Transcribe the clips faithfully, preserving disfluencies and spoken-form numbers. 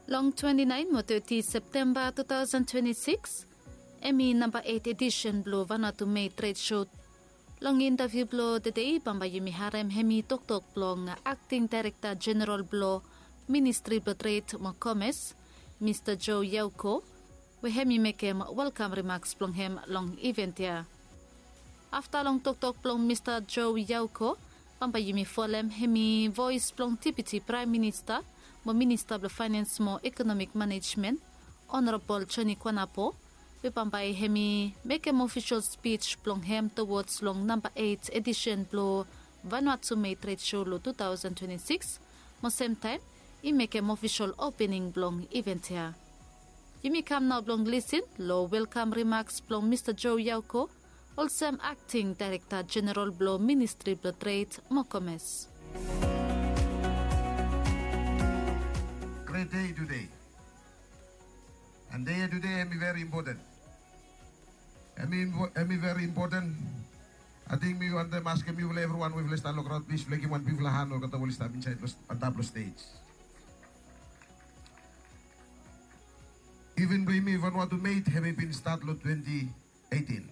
Long twenti naen mo teti Septemba tu taosen twenti sikis, hemi namba eit edisen blong Vanuatu Made Trade Show. Long intaviu blong tede bambae yumi harem hemi toktok blong Akting Daerekta Jeneral blong Ministri blong Tred mo Komes, Mista Joe Yauko, we hemi mekem welkam rimaks blong hem long iven ya. Afta long toktok blong Mista Joe Yauko, bambae yumi folem hemi voes blong Deputi Praem Minista mo Minista blong Faenens mo Ekonomik Manejmen, Onorabol Joni Kuanapo, we bambae hemi mekem ofisol spij blong hem towods long namba eit edisen blong Vanuatu Made Trade Show long tu taosen twenti sikis, mo semtaem i mekem ofisol opening blong iven ya. Yumi kam nao blong lisin long welkam rimaks blong Mista Joe Yauko, olsem Akting Daerekta Jeneral blong Ministri blong Tred mo Komes. Great day today. And day today hemi very important. Hemi, hemi very important. Ating mi wantem askem yufala evriwan we yufala i stap long kraod, plis yufala givim wan bigfala han long olgeta we oli stap insaed long, antap long stej. Iven blong yumi Vanuatu Made hemi bin stat long twenti eitin.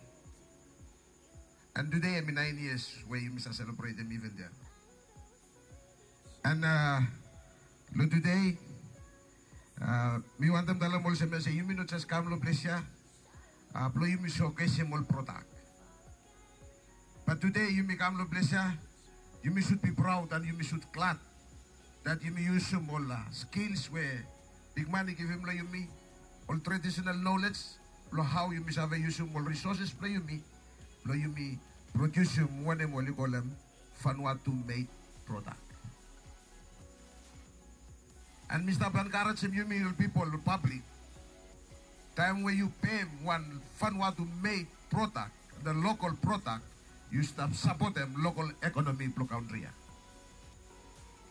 And tede hemi naen yias we yumi save selebretem iven ya. And long tede mi wantem talem olsem ya se yumi no jes kam long ples ya blong yumi showcasem ol prodak. Bat tede yumi kam long ples ya, yumi should be proud and yumi should glad that yumi yusum ol skils we bigman i givim long yumi, ol traditional knowledge blong hao yumi save yusum ol resources blong yumi blong yumi produsum wanem oli kolem Vanuatu made product. And mi stap encouragem yumi ol pipol, ol public, taem we yu pem wan Vanuatu made product, the local product, yu stap sapotem local economy blong kantri ya.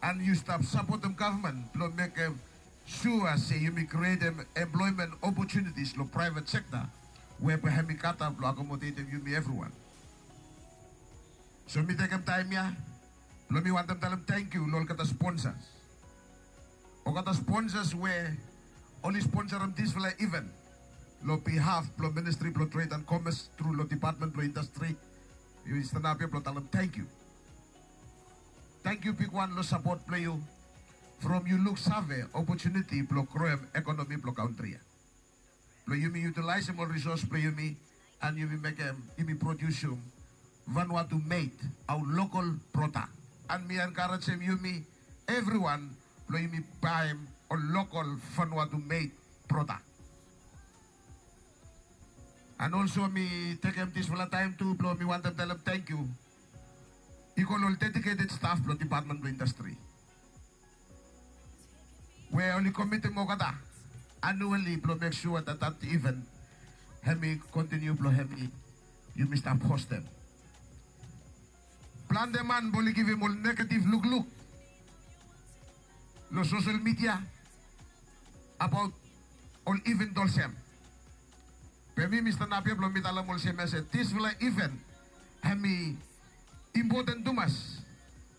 And yu stap sapotem gavman blong mekem sua se yumi krietem employment opportunities long private sector we bae hem i gatap blong akomodetem yumi evriwan. So mi tekem taem ya blong mi wantem talem tangkiu long olgeta sponsors. Olgeta sponsors we oli sponsorem disfala event long behalf blong Ministry blong Trade and Commerce tru long Department blong Industry. Yu stanap ya blong talem tangkiu. Tangkiu bigwan long sapot blong yu from yu luksave opportunity blong groem ekonomi blong kantri ya. Blong yumi utiliseem ol resource blong yumi and yumi mekem, yumi produsum Vanuatu made, our local product. And mi encourageem yumi evriwan blong yumi baem ol local Vanuatu made product. And also mi tekem disfala taem tu blong mi wantem talem tangkiu i go long ol dedicated staff blong Department blong Industry we oli komitem olgeta annually blong mek sua that that event hem i continue blong hem i, yumi stap hostem. Plante man bae oli givim ol negative lukluk long social media about ol event olsem. Be mi mi stanap ya blong mi talem olsem ya se disfala event hem i impoten tumas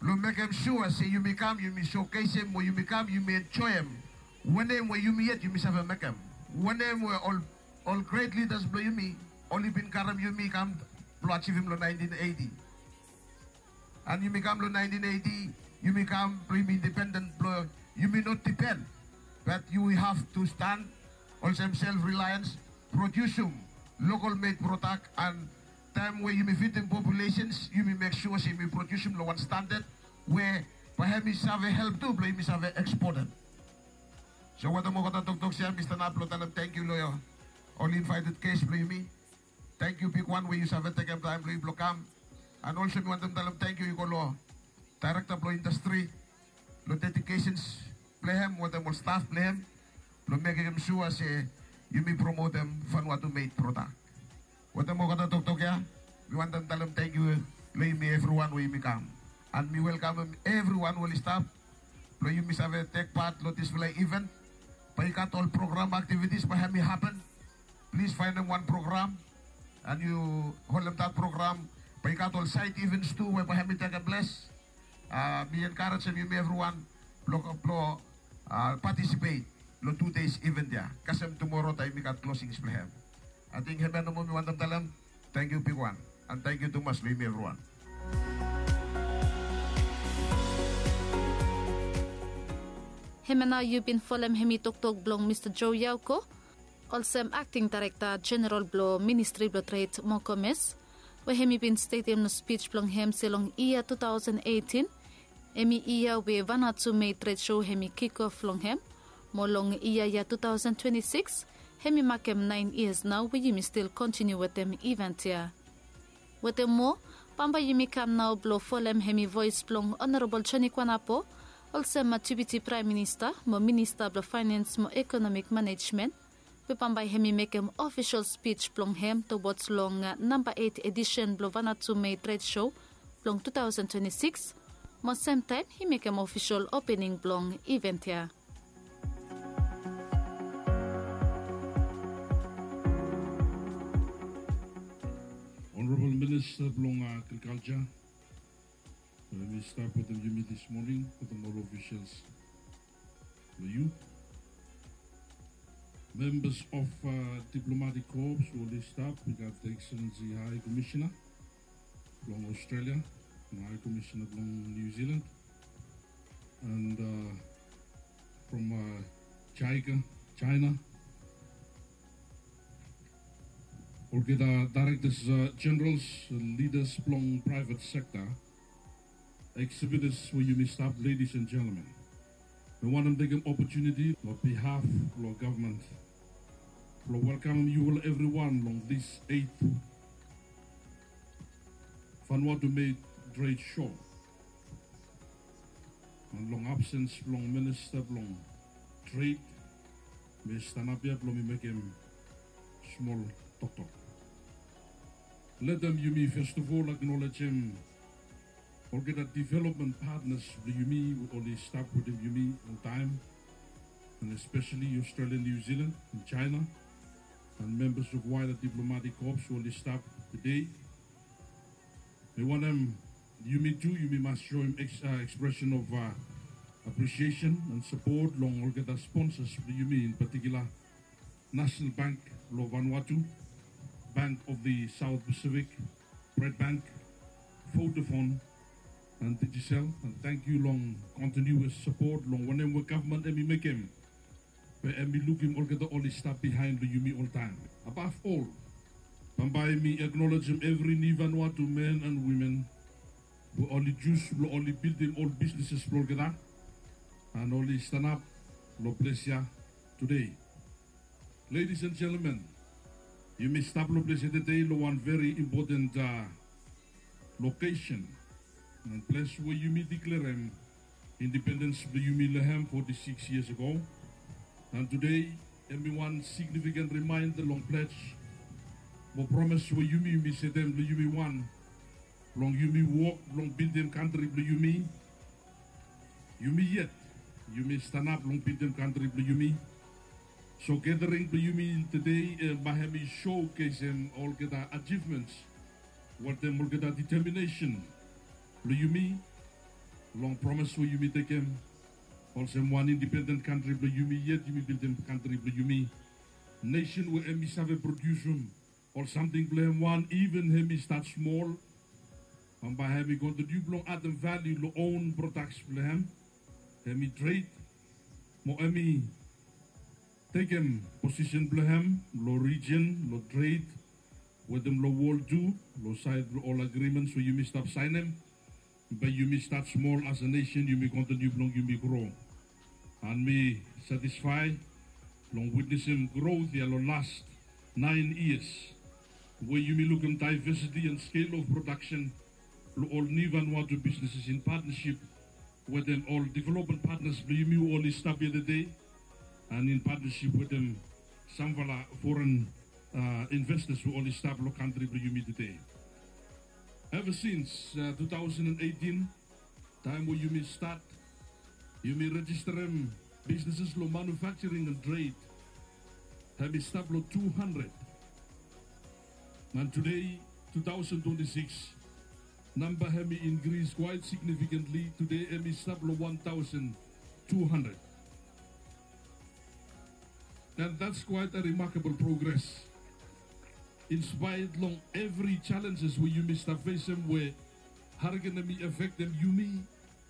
blong mekem sua se yumi kam yumi showcasem we yumi kam yumi enjoem wanem we yumi yet yumi save mekem, wanem we ol, ol great leaders blong yumi oli bin karem yumi kam blong ajivim long naentin eiti. And yumi kam long naentin eiti, yumi kam blong yumi independen blong yumi no dipen, bat yu have to stan olsem self reliance, produsum local made product, and taem we yumi fidim populations yumi mek sua se yumi produsum long wan standard we bae hem i save help tu blong yumi save ekspotem. So wetem olgeta toktoks ya mi stanap blong talem tangkiu long ol invited guest blong yumi. Tangkiu bigwan we yu save tekem taem blong yu blong kam. And also mi wantem talem tangkiu i go long Daerekta blong Indastri long dedikesens blong hem wetem ol staf blong hem blong mekem sua se yumi promotem Vanuatu made product. Wetem olgeta toktok ya mi wantem talem tangkiu long yumi evriwan we yumi kam. And mi welkamem evriwan we oli stap blong yumi save tek pat long disfala event. Bae i gat ol program, aktivitis bae hem i hapen. Plis faenem wan program and yu holem that program. Bae i gat ol saed events tu we bae hem i tekem ples. Mi enkarejem yumi evriwan blong, blong patisipet. long tu deis iven ya kasem tumoro taem yumi gat klosings blong hem. Ating hemia nomo mi wantem talem. Tangkiu bigwan. An tangkiu tumas long yumi evriwan. Hemia nao yu bin folem hemi toktok blong mista joe yauko, olsem akting daerekta jeneral blong ministri blong tred mo komes, we hemi bin stetem long spij blong hem se long yia tu taosen eitin, hemi yia we vanatu mei tred sho hemi kikof long hem, mo long yia ya tu taosen twenti sikis, hemi makem naen yias nao we yumi stil kontiniu wetem iven ya. Wetem moa, bambae yumi kam nao blong folem hemi voes blong onorabol joni kwanapo, olsem depiti praem minista mo minista blong faenens mo ekonomik manejmen, we bambae hemi mekem ofisol spij blong hem tobots long namba eit edisen blong vanatu mei tred sho blong tu taosen twenti sikis, mo semtaem i mekem ofisol opening blong iven ya. Onorabol minista blong agrikalja, we mi stap wetem yumi dis moning wetem ol ofisels blong yu, membas of diplomatik kops we oli stap, i gat ekselensi hae komisena blong aostralia, mo hae komisena blong niu silan, and from jaika, jaena, olgeta daerektas jenerals, lidas blong praevet sekta, eksibitas we yumi stap, ledis and jentlemen, mi wantem tekem opotuniti long bihaf blong gavman blong welkamem yu ol evriwan long dis eit vanwatu mei tred sho. Long absens blong minista blong tred, mi stanap ya blong mi mekem smol toktok. Letem yumi festafol aknolejem olgeta developmen patnas blong yumi we oli stap wetem yumi oltaem, and espeseli aostralia, niu silan, and jaena, and membas of waeda diplomatik kops we oli stap tede. Mi wantem yumi tu yumi mas soem ekspresen of apresiesen and sapot long olgeta sponsas blong yumi, in patikula nasenal bank blong vanwatu, bank of the saot pasifik, bredbank, vodafon, and digisel, and tangkiu long kontiniuas sapot long wanem we gavman hemi mekem, we hemi lukim olgeta oli stap bihaen long yumi oltaem. Abaf ol, bambae mi aknolejem evri nivanwatu men and wimen we oli jus blong oli bildim ol bisneses blong olgeta, and oli stanap long ples ya tede. Ledis and jentlemen, yumi stap long ples ya tede long wan veri impoten lokesen, ples we yumi diklerem indipendens blong yumi long hem foti sikis yias ago. And tede hemi wan signifiken rimaenda long plej mo promes we yumi yumi setem blong yumi wan blong yumi wok blong bildim kantri blong yumi. Yumi yet yumi stanap long bildim kantri blong yumi. So gedering blong yumi tede bae hemi sokesem olgeta ajivmens wetem olgeta diteminesen blong yumi long promes we yumi tekem olsem wan indipenden kantri blong yumi, yet yumi bildim kantri blong yumi, nesen we hemi save prodiusum ol samting blong hem wan, iven hemi stat smol, bambae hemi kontiniu blong adem valiu long own prodaks blong hem. Hemi tred mo hemi tekem posisen blong hem long rijen, long tred wetem long wol tu, long saed blong ol agrimens we yumi stap saenem. Bae yumi stat smol as a nesen, yumi kontiniu blong yumi gro. And mi satisfae long witnesem grot ya long las naen yias we yumi lukim daevesiti and skel of prodaksen blong ol nivanwatu bisneses in patnasip wetem ol developmen patnas blong yumi we oli stap ya tede, and in patnasip wetem samfala foren investas we oli stap long kantri blong yumi tede. Eva sins tu taosen and eitin, taem we yumi stat, yumi rejisterem bisneses long manufakjaring and tred, hemi stap long tu handred. And tede, tu taosen twenti sikis, namba hemi inkris kwaet signifikentli. Tede hemi stap long wan taosen tu handred. And that's quite a remarkable progress. In spite long evri challenges we yumi stap fesem, we hariken hemi afektem yumi,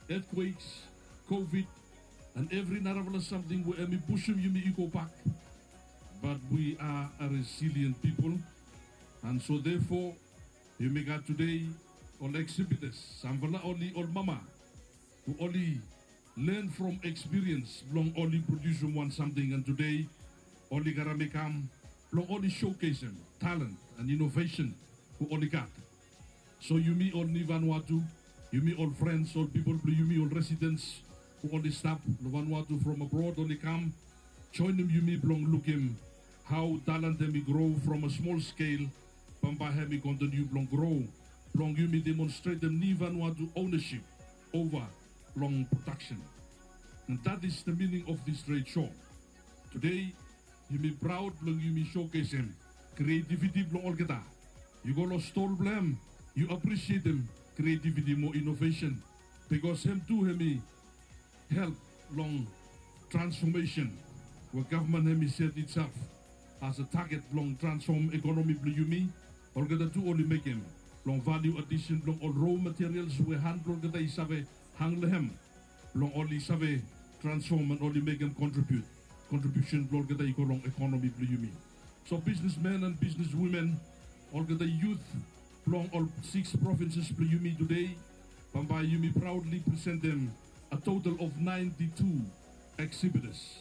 earthquakes, COVID, and evri narafala samting we hemi pusum yumi i go bak. But we are a resilient people. And so therefore, yumi gat tede ol exhibitors, samfala oli ol mama we oli learn from experience blong oli produsum wan samting, and tede oli karem i kam blong oli showcasem talent and innovation we oli gat. So yumi ol Ni Vanuatu, yumi ol friends, ol pipol blong yumi, ol residents we oli stap long Vanuatu from abroad, oli kam joenem yumi blong lukim hao talent hemi grow from a small scale, bambae hemi kontiniu blong grow, blong yumi demonstretem Ni Vanuatu ownership ova long production. And that is the meaning of this trade show. Tede, yumi praod blong yumi showcasem creativity blong olgeta. Yu go long stol blong hem, yu aprisietem creativity mo innovation, bikos hem tu hemi help long transformation we gavman hemi set itself as a target blong transform ekonomi blong yumi. Olgeta tu oli mekem long value addition blong ol raw materials we han blong olgeta i save hang long hem, blong oli save transform and oli mekem contribute, contribution blong olgeta i go long ekonomi blong yumi. So businessmen and businesswomen, olgeta youth blong ol six provinces blong yumi, tede bambae yumi proudly presentem a total of ninety-two exhibitors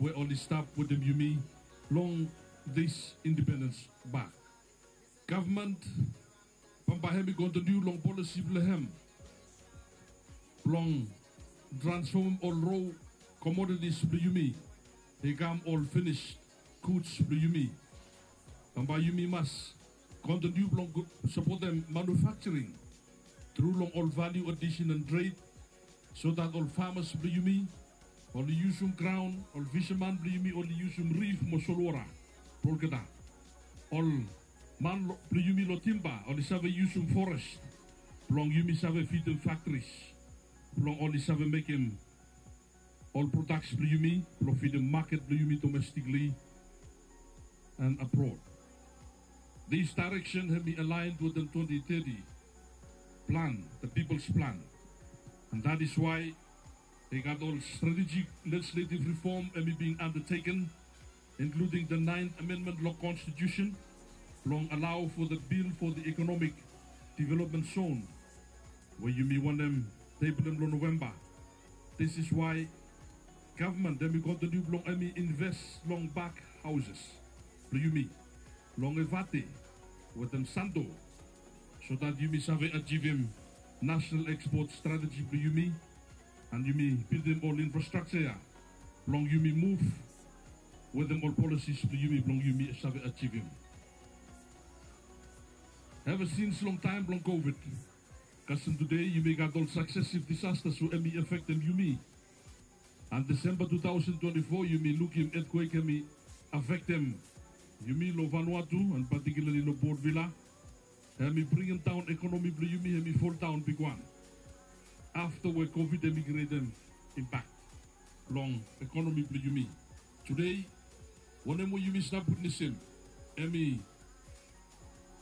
we oli stap wetem yumi long this independence bak. Gavman bambae hemi kontiniu long polisi blong hem blong transfomem ol raw commodities blong yumi i kam ol finished goods blong yumi. Bambae yumi mas kontiniu blong sapotem manufacturing tru long ol value addition and trade, so that ol farmers blong yumi oli yusum graon, ol fisherman blong yumi oli yusum reef mo solwota blong olgeta. Ol man blong yumi long timber oli save yusum forest blong yumi save fidim factories blong oli save mekem ol products blong yumi blong fidim market blong yumi domestically and abroad. This direction hemi aligned wetem twenty thirty plan, the people's plan. And that is why i gat ol strategic legislative reform hemi being undertaken, including the ninth amendment long constitution blong allow for the bill for the economic development zone we yumi wantem teblem long November. This is why gavman hemi kontiniu blong hemi invest long bak houses blong yumi long Efate wetem Santo, so that yumi save ajivim national export strategy blong yumi, and yumi bildim ol infrastructure ya blong yumi muv wetem ol policies blong yumi blong yumi save ajivim. Ever since long taem blong COVID kasem tede, yumi gat ol successive disasters we hemi afektem yumi. And December two thousand twenty-four yumi lukim earthquake hemi afektem yumi long Vanuatu and particularly long Port Vila. Hemi bringim daon ekonomi blong yumi, hemi foldaon bigwan. Afta we COVID hemi krietem impact long ekonomi blong yumi. Tede wanem we yumi stap witnesem hemi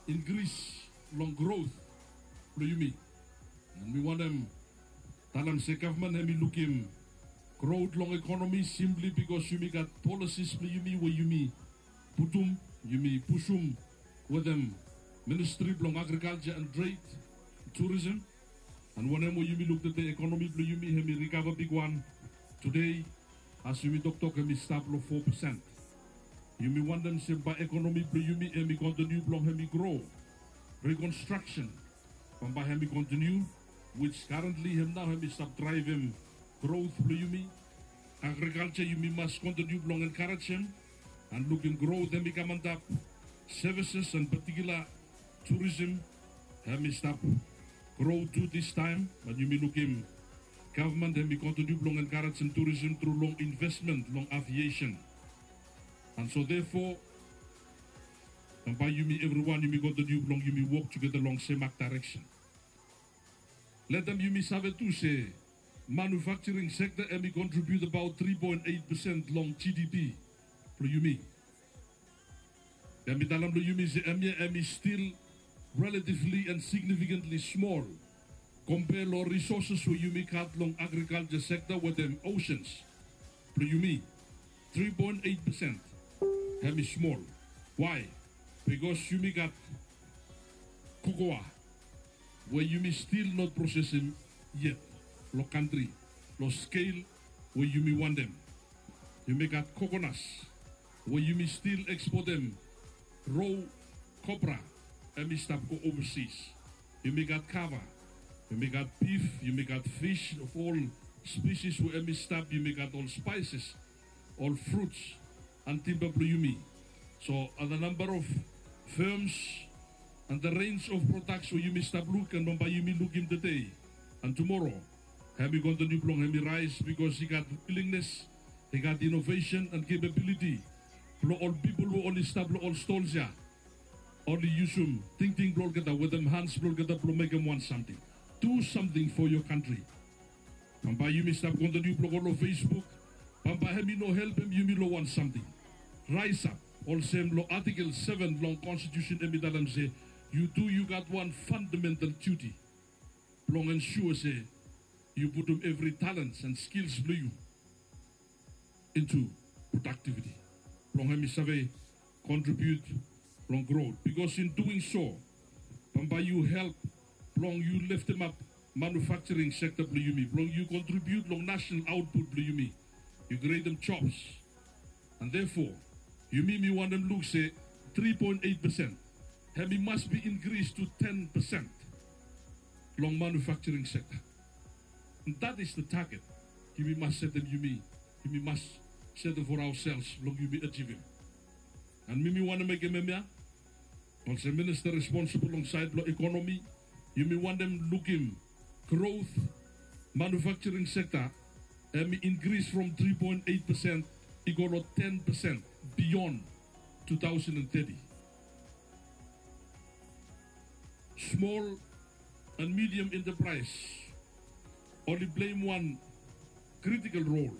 increase long growth blong yumi. And mi wantem talem se gavman hemi lukim growth long ekonomi simply bikos yumi gat policies blong yumi we yumi putum, yumi pusum wetem Ministry blong Agriculture and Trade, Tourism. And wanem we yumi luk tede, ekonomi blong yumi hemi rikava bigwan. Tede as yumi toktok hemi stap long four percent. Yumi wantem se bae ekonomi blong yumi hemi kontiniu blong hemi gro. Reconstruction bambae hemi kontiniu, which currently hem nao hemi stap draevem growth blong yumi. Agriculture yumi mas kontiniu blong enkarejem and lukim growth hemi kam antap. Services and particular tourism hemi stap gro tu distaem, and yumi lukim gavman hemi kontiniu blong enkarejem tourism tru long investment long aviation. And so therefore bambae yumi evriwan yumi kontiniu blong yumi wok tugeta long sem mak direction. Letem yumi save tu se manufacturing sector hemi contribute about three point eight percent long GDP. blong yumi. Hemi talem long yumi se hemia hemi stil relatively and significantly smol kompea long resources we yumi gat long agriculture sekta wetem oceans blong yumi. Tri poen eit pesen hemi smol. Wae? Bikos yumi gat kokoa we yumi stil not prosesem yet long kantri long skel we yumi wantem. Yumi gat kokonas we yumi stil ekspotem ro kopra hemi stap go ovasis. Yumi gat kava, yumi gat bif, yumi gat fis of ol spesis we hemi stap, yumi gat ol spaises, ol fruts an timba blong yumi. So a the number of firms an the range of products we yumi stap luk an bambae yumi lukim tede an tumoro, hemi kontiniu blong hemi raes bikos i gat wilingnes, i gat inovesen an kepabiliti blong ol pipol we oli stap long ol stols ya oli yusum tingting blong olgeta wetem hans blong olgeta blong mekem wan samting. Do something for your country. Bambae yumi stap kontiniu blong go long Facebook. Bambae hemi no helpem yumi long wan samting. Raesap olsem long atikel seven blong konstitusen hemi talem se yu tu yu gat wan fundamental duti blong ensua se yu putum evri talents an skils blong yu into productivity blong hemi save kontribiut long growth. Bikos in doing so bambae yu help blong yu leftemap manufacturing sekta blong yumi blong yu kontribiut long national output blong yumi. Yu krietem jobs. An therefore yumi mi wantem luk se tri poen eit pesen hemi mas bi inkris tu ten pesen long manufacturing sekta. And that is the target yumi mas setem yumi yumi mas setem for ourselves blong yumi ajivim. An mi mi wantem mekem hemia olsem minista responsibol long saed blong ekonomi, yumi wantem lukim growth manufacturing sekta hemi inkris from tri poen eit pesen i go long ten pesen bion tu taosen an teti. Smol an medium enterprise oli pleim wan critical rol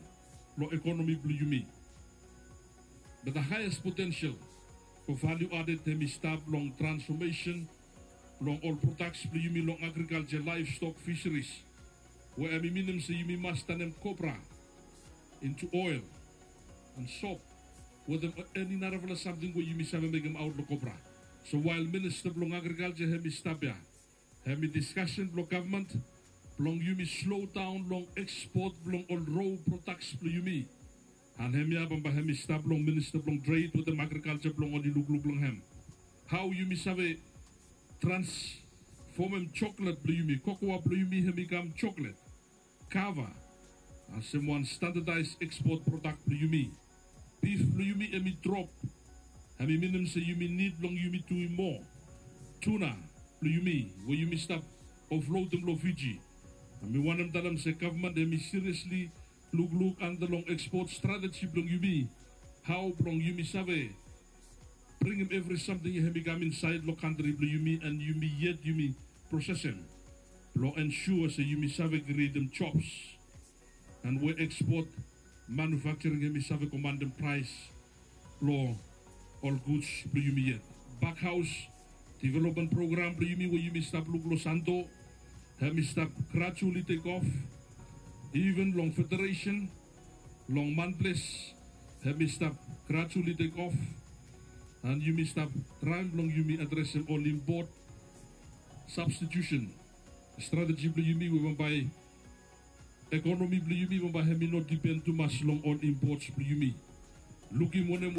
long ekonomi blong yumi. Be the highest potential for value added hemi stap long transfomesen blong ol products blong yumi long agrikalja, laevstok, fiseris, we hemi minim se yumi mas tanem kopra into oel an sop wetem eni narafala samting we yumi save mekemaot long kopra. So wael minista blong agrikalja hemi stap ya, hemi diskasen blong gavman blong yumi slodaon long ekspot blong ol ro prodaks blong yumi. An hemia bambae hemi stap long minista blong tred wetem agrikalja blong oli lukluk long hem hao yumi save transfomem joklet blong yumi, kokoa blong yumi hemi kam joklet, kava olsem wan standadaes ekspot prodak blong yumi. Bif blong yumi hemi drop, hemi minim se yumi nid blong yumi duim moa. Tuna blong yumi we yumi stap oflodem long Fiji. Hemi wantem talem se gavman hemi siriesli lukluk antap long ekspot strateji blong yumi hao blong yumi save bringim evri samting ya hemi kam insaed long kantri blong yumi an yumi yet yumi prosesem blong ensua se yumi save krietem jobs an we ekspot manufakjaring hemi save komandem praes long ol guds blong yumi yet. Bakhaos developmen program blong yumi we yumi stap luk long Santo hemi stap grajuali tekof. Iven long federesen long manples hemi stap grajuali tekof. An yumi stap traem blong yumi adresem ol impot sabstitiusen strateji blong yumi we bambae ekonomi blong yumi bambae hemi no dipen tumas long ol impots blong yumi. Lukim wanem